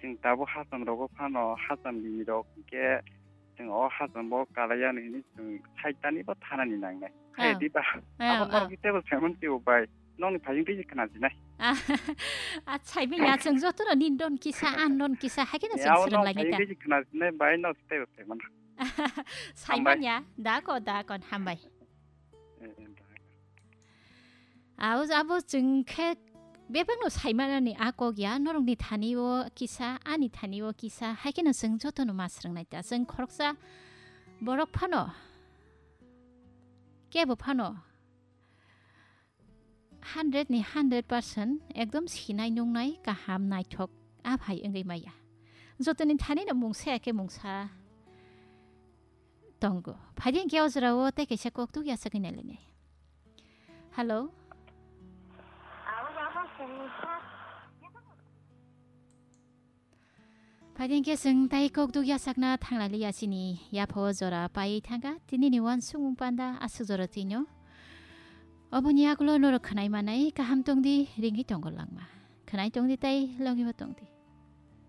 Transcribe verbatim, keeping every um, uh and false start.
Chwng tabuk hacham rogo phano hacham bini rok hinkhe chwng o hacham bo kalaiya hinwi chwng saitani bo thanani nangnai. Hai diba? Abo norok tei bo saiman tio bai. Nokni phajing tei khna jinai. A, saimanya chwng jotono nin don kisa, an don kisa, hai kheno chwng srwng lainai ta. Phajing tei khna jinai bai, nok tei bo saiman. Saimanya, da ko, da ko, hambai. Abo, abo chwng khe bebakno saimanani a kok ya, norokni thani o kisa, ani thani o kisa, hai kheno chwng jotono ma srwng nai ta. Chwng khoroksa borok phano, kebo phano hundred ni hundred percent ekdom sinai nungnai kaham naithok a phai wngwi maya. Jotoni thani no mungsa ya khe mungsa tongo. Phaidi hinkhe o jorao tei kaisa koktuk yachagwi nailainai. Hello? Phaidi hinkhe chwng tai koktuk yachakna thanglailiya chini yapha o jora paiwi thangkha. Tinini uansukmung panda aswk jora twino. Oboni yagulo norok khwnai manai kaham tongdi, ringwi tongo langma. Khwnai tongdi tai logibo tongdi.